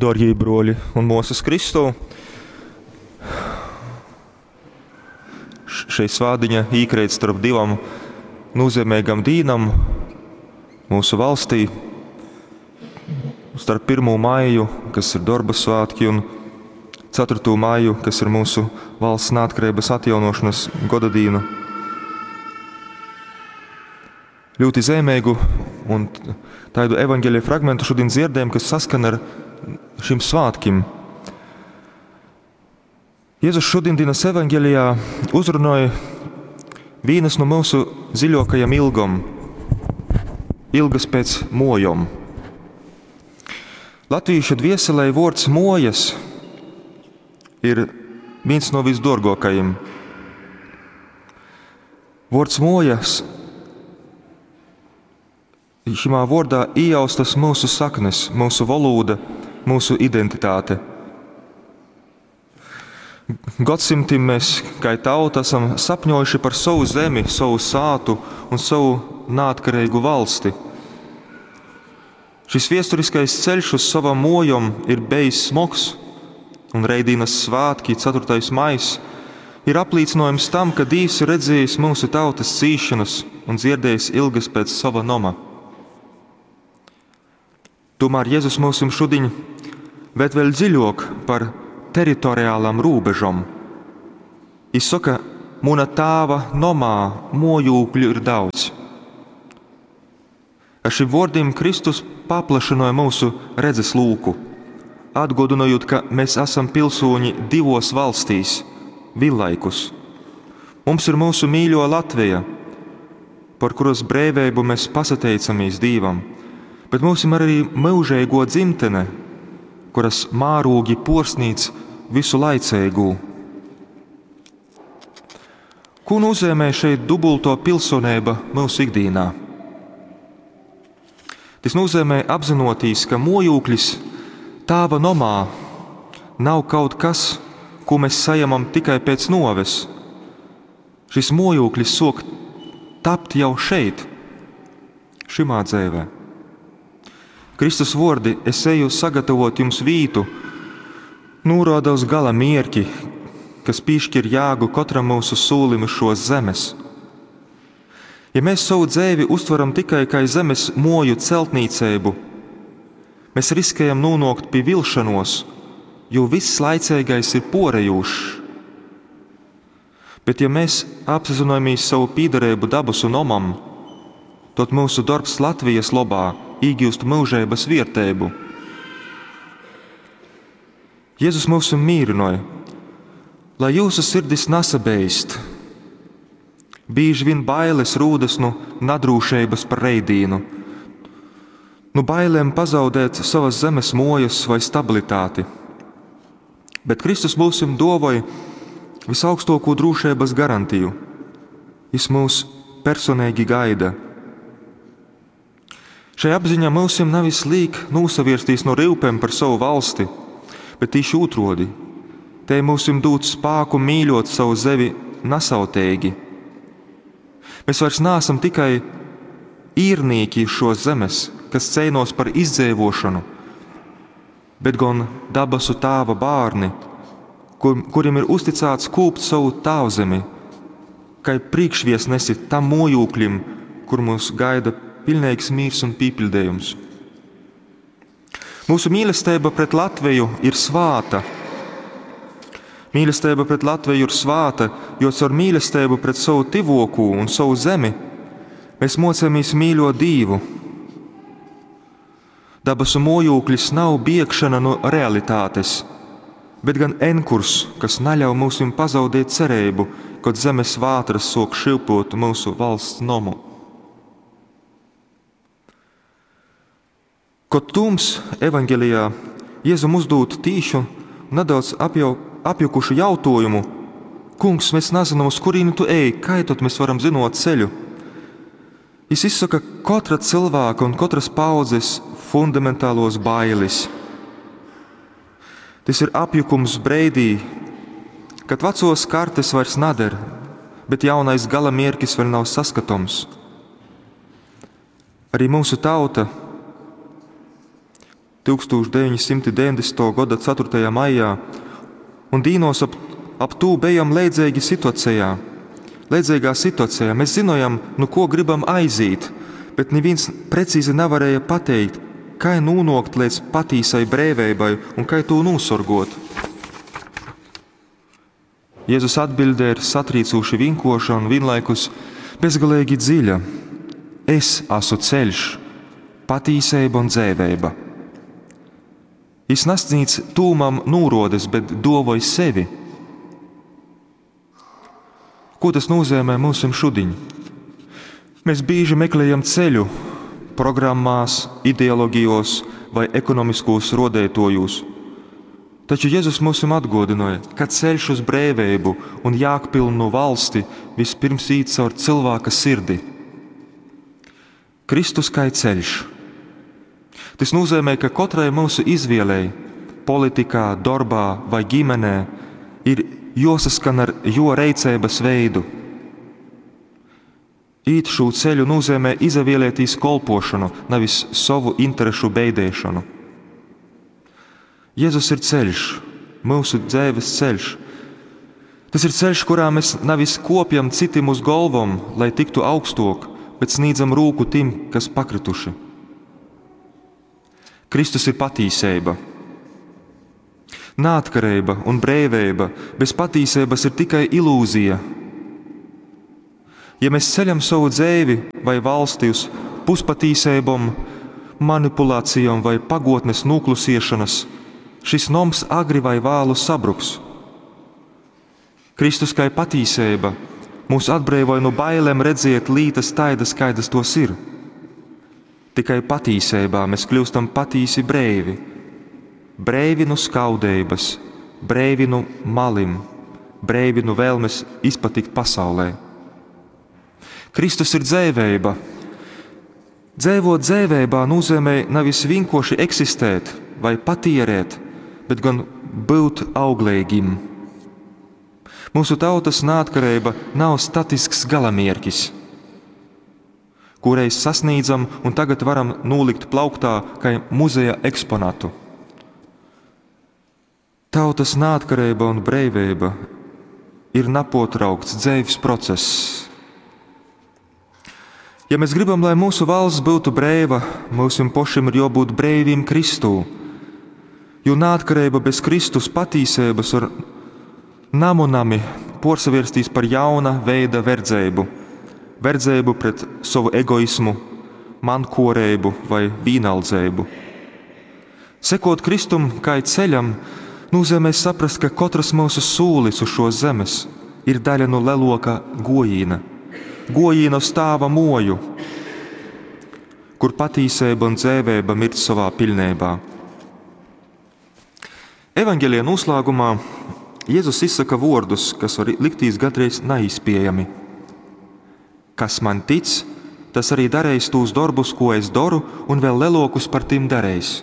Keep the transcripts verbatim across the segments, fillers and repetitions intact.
Dārgie broļi un māsas Kristū, šeit svādiņa īkreit starp divam nozīmīgam dīnam mūsu valstī, starp pirmo maiju, kas ir darba svētki, un ceturto maiju, kas ir mūsu valsts neatkarības atjaunošanas godadīna. Ļoti zīmīgu un tādu evaņģēlija fragmentu šodien dzirdējam, kas saskan ar šim svētkim. Jēzus šodienas evaņģēlijā uzrunāja vienas no mūsu dziļākajām ilgām, ilgas pēc mojom. Latviešu dvieselē vārds mojas ir viens no visdorgākajiem. Vārds mojas, šimā vārdā ieaustas mūsu saknes, mūsu valoda, mūsu identitāte. Gadsimtiem mēs, kā tauta, esam sapņojuši par savu zemi, savu sātu un savu neatkarīgu valsti. Šis viesturiskais ceļš uz savam mojom ir bijis smogs, un Reidīnas svētki, ceturtais maijs, ir apliecinājums tam, ka Dievs ir redzējis mūsu tautas cīšanas un dzirdējis ilgas pēc sava noma. Tomēr Jēzus mūsim šodien ved vēl dziļāk par teritoriālām robežom. Viņš saka, muna tāva nomā mojūkļu ir daudz. Ar šiem vārdiem Kristus paplašināja mūsu redzes lūku, atgādinot, ka mēs esam pilsoņi divos valstīs, vienlaikus. Mums ir mūsu mīļo Latvija, par kuras brīvību mēs pasateicamies Dievam, bet mums ir arī mūžīgo dzimtene, kuras mārūgi porsnīc visu laicīgū. Ko nozīmē šeit dubulto pilsonība mūsu ikdienā? Tas nozīmē apzinoties, ka mojūklis tāva nomā nav kaut kas, ko mēs saņemam tikai pēc noves. Šis mojūklis sok tapt jau šeit, šimā dzīvē. Kristus vārdi, es eju sagatavot jums vītu, norāda uz gala mierki, kas piešķir jēgu katram mūsu sūlim uz šos zemes. Ja mēs savu dzīvi uztveram tikai kā zemes moju celtniecību, mēs riskējam nonākt pie vilšanos, jo viss laicīgais ir porejūšs. Bet ja mēs apzināmies savu pīdarību dabas un omam, tad mūsu darbs Latvijas labā iegūst mūžības vērtību. Jēzus mūs mierināja, lai jūsu sirdis nesabeist. Bieži vien bailes rūdas no nadrūšības par reidīnu, no bailēm pazaudēt savas zemes mojas vai stabilitāti. Bet Kristus mūsim dovoja visaugstāko drošības garantiju. Jis mūs personīgi gaida. Šai apziņā mūsim nevis līk nosavirstīs no rūpēm par savu valsti, bet tieši otrādi. Te mūsim dūt spēku mīļot savu zevi nesautīgi. Mēs vairs neesam tikai īrnieki šo zemes, kas cīnos par izdzīvošanu, bet gan dabasu tāva bērni, kur, kuriem ir uzticēts kūpt savu tāvzemi, kā priekšviesnesi tam mojūklim, kur mūs gaida pilnīgs mīrs un pīpildījums. Mūsu mīlestība pret Latviju ir svāta. Mīlestība pret Latviju ir svāta, jo caur mīlestību pret savu tivoku un savu zemi mēs mocāmies mīļot Dievu. Dabasu mojūklis nav biegšana no realitātes, bet gan enkurs, kas neļauj mums pazaudēt cerību, kad zemes vātras sok šilpot mūsu valsts nomu. Kad Tums evaņģēlijā Jēzum uzdot tīšu, nedaudz apjau, apjukušu jautājumu: Kungs, mēs nezinām, uz kurieni tu ej, kā tad mēs varam zinot ceļu? Jis izsaka katra cilvēka un katras paudzes fundamentālos bailes. Tas ir apjukums breidī, kad vecos kartes vairs nader, bet jaunais gala mierkis vēl nav saskatāms. Arī mūsu tauta tūkstūš deveņsimt deveņdesmituo goda ceturtajā maijā un dīnos ap, ap tū bejam leidzeigi situacejā. Leidzeigā situacejā mēs zinojam, nu ko gribam aizīt, bet nivīns precīzi navarēja pateikt, kai nūnokt līdz patīsai breiveibai un kai tū nūsorgot. Jēzus atbilde ir satrīcūši vienkārša un vienlaikus bezgalīgi dziļa. Es esmu ceļš, patīseiba un dzēveiba. Jis nasnīdz tūmam nūrodes, bet dovoj sevi. Ko tas nozīmē mums šodien? Mēs bieži meklējam ceļu programmās, ideologijos vai ekonomiskos rodētojos. Taču Jēzus mums atgādināja, ka ceļš uz brīvību un jēgpilnu valsti vispirms īt caur cilvēka sirdi. Kristus kā ceļš. Tas nozīmē, ka katrai mūsu izvēlei, politikā, darbā vai ģimenē, ir josaskan ar jo reicības veidu. Īt šo ceļu nozīmē izavēlēties kolpošanu, nevis savu interešu beidēšanu. Jēzus ir ceļš, mūsu dzīves ceļš. Tas ir ceļš, kurā mēs nevis kopjam citiem uz galvom, lai tiktu augstok, bet sniedzam rūku tiem, kas pakrituši. Kristus ir patīseiba. Nātkarība un brīvība bez patīsības ir tikai ilūzija. Ja mēs ceļam savu dzīvi vai valsti uz puspatīsībom, manipulācijām vai pagotnes noklusiešanas, šis noms agri vai vālu sabruks. Kristus kā patīsība mūs atbrīvoja no bailēm redziet lītas taidas, kaidas tos ir. Tikai patīsībā mēs kļūstam patīsi breivi. Breivi no skaudības, breivi no malim, breivi no vēlmes izpatikt pasaulē. Kristus ir dzēveiba. Dzēvot dzēveibā nozīmē nevis vienkārši eksistēt vai patierēt, bet gan būt auglīgim. Mūsu tautas neatkarība nav statisks galamierkis, kureiz sasniedzam un tagad varam nolikt plauktā kā muzeja eksponatu. Tautas neatkarība un brīvība ir napotraukts dzīves process. Ja mēs gribam, lai mūsu valsts būtu brīva, mums pašiem ir jābūt brīvim Kristū. Jo neatkarība bez Kristus patīsības var namunami porsavirstīs par jauna veida verdzēbu. Verdzēbu pret savu egoismu, mankorēbu vai vīnaldzēbu. Sekot Kristum kā ceļam, nozīmē saprast, ka katrs mūsu sūlis uz šo zemes ir daļa no leloka gojīna. Gojīna uz tāva moju, kur patīsība un dzēvēba mirt savā pilnībā. Evangelija noslēgumā Jēzus izsaka vārdus, kas var liktīs gandrīz neizpējami. Kas man tic, tas arī darīs tos darbus, ko es daru, un vēl lelokus par tiem darīs.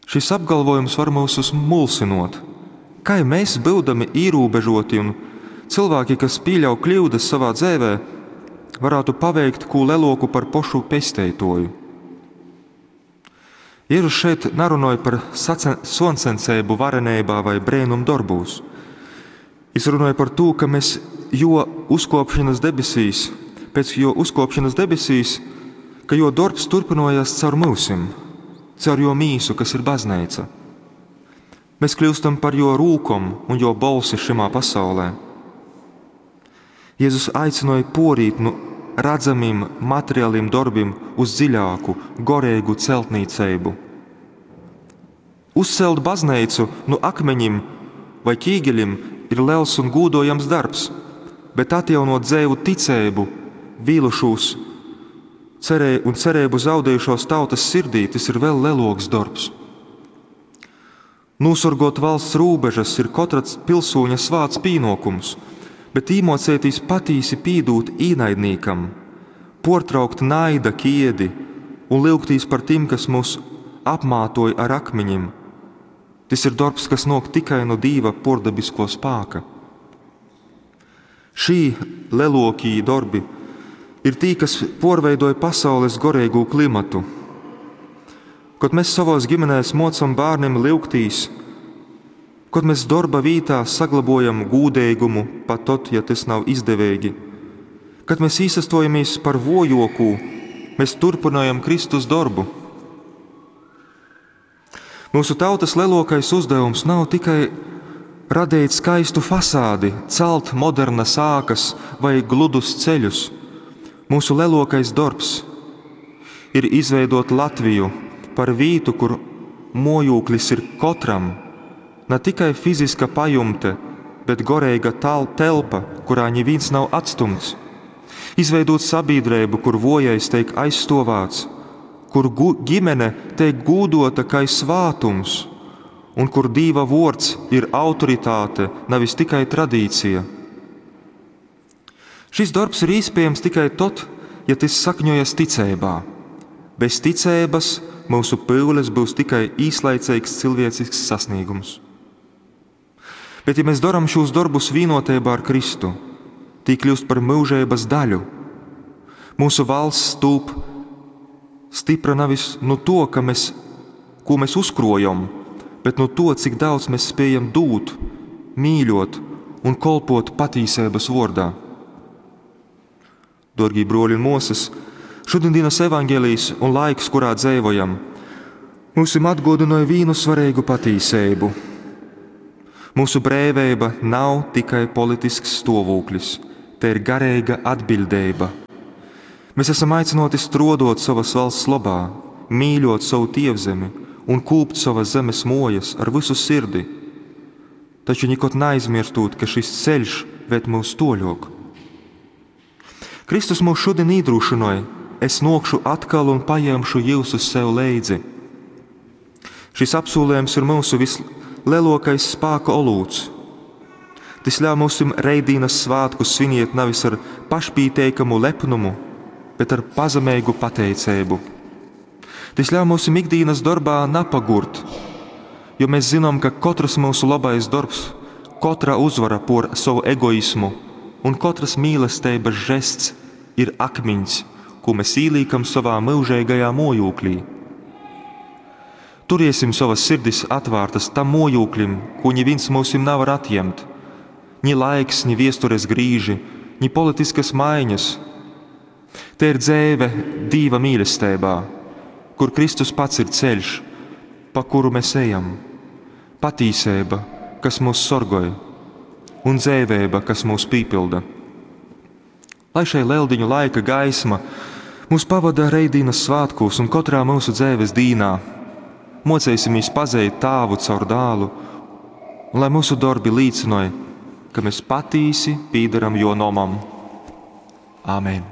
Šis apgalvojums var mūs mulsinot. Kā mēs, būdami ierobežoti un cilvēki, kas pieļauj kļūdas savā dzīvē, varētu paveikt ko leloku par pošu pesteitoju? Jēzus šeit nerunāja par soncencēbu varenībā vai brēnum darbūs. Viņš runāja par to, ka mēs jo uzkopšanas debesīs, pēc jo uzkopšanas debesīs, ka jo darbs turpinojas caur mūsim, caur jo mīsu, kas ir baznīca. Mēs kļūstam par jo rūkom un jo bolsi šimā pasaulē. Jēzus aicināja porīt nu redzamiem materiāliem darbiem uz dziļāku, gorīgu celtniecību. Uzcelt baznīcu no akmeņiem vai ķīgeļiem ir liels un gūdojams darbs, bet atjaunot dzēvu ticību, vīlušos cerē un cerību zaudējušos tautas sirdī, tas ir vēl leloks darbs. Nosorgot valsts robežas ir katra pilsūņa svāts pienākums, bet īmocētīs patīsi pīdūt īnaidnīkam, portraukt naida kiedi un lūgtīs par tiem, kas mūs apmātoja ar akmeņiem. Tas ir darbs, kas nāk tikai no Dieva pordabisko spēka. Šī lelokī darbi ir tī, kas porveidoja pasaules gorīgo klimatu. Kod mēs savos ģimenēs mocam bērniem lyugtīs, kod mēs dorba vītā saglabojam gūdeigumu, pat tod, ja tas nav izdeveigi, kad mēs īsastojamies par vojokū, mēs turpinājam Kristus dorbu. Mūsu tautas lielākais uzdevums nav tikai radīt skaistu fasādi, celt modernas ākas vai gludus ceļus. Mūsu lielākais darbs ir izveidot Latviju par vītu, kur mojūklis ir katram, ne tikai fiziska pajumte, bet goreiga telpa, kurā neviens nav atstumts. Izveidot sabiedrību, kur vojais tiek aizstovāts, kur ģimene tiek gūdota kā svātums, un kur Dīva vords ir autoritāte, nevis tikai tradīcija. Šis darbs ir iespējams tikai tad, ja tas sakņojas ticībā. Bez ticības mūsu pyules būs tikai īslaicīgs cilvēcisks sasniegums. Bet ja mēs darām šos darbus vienotībā ar Kristu, tī kļūst par mūžības daļu. Mūsu valsts tūp stipra nevis no to, ka mēs, ko mēs uzkrojam, bet no to, cik daudz mēs spējam dūt, mīļot un kolpot patīsības vordā. Dorgī broļi un mosas, šodienas evaņģēlijs un laiks, kurā dzīvojam, mūsim atgodināja vīnu svarīgu patīsību. Mūsu brēveiba nav tikai politisks stāvoklis, te ir garīga atbildība. Mēs esam aicināti strodot savas valsts labā, mīļot savu tievzemi un kūpt savas zemes mojas ar visu sirdi, taču nekad neaizmirstot, ka šis ceļš ved mūs toļok. Kristus mūs šodien iedrošināja, es nokšu atkal un paņemšu jūsu sev leidzi. Šis apsolījums ir mūsu vislielākais spēka olūts. Tas ļauj mums reidīnas svētkus sviniet nevis ar pašpīteikamu lepnumu, bet ar pazemīgu pateicību. Tas ļauj mums ikdienas darbā napagurt, jo mēs zinām, ka katrs mūsu labais darbs, katra uzvara por savu egoismu un katras mīlestības žests ir akmeņš, ko mēs īlīkam savā mūžīgajā mojūklī. Turiesim savas sirdis atvērtas tam mojūklim, ko neviens mūsim nevar atņemt. Ni laiks, ni viestures grīži, ni politiskas maiņas. Te ir dzēve Dīva mīlestībā, kur Kristus pats ir ceļš, pa kuru mēs ejam, patīsība, kas mūs sorgoj, un dzēvēba, kas mūs pīpilda. Lai šai leldiņu laika gaisma mūs pavada reidīnas svētkos un katrā mūsu dzēves dīnā, mocēsimies pazīt tāvu caur dālu, un lai mūsu darbi līdzinoja, ka mēs patīsi pīdaram jo nomam. Āmen.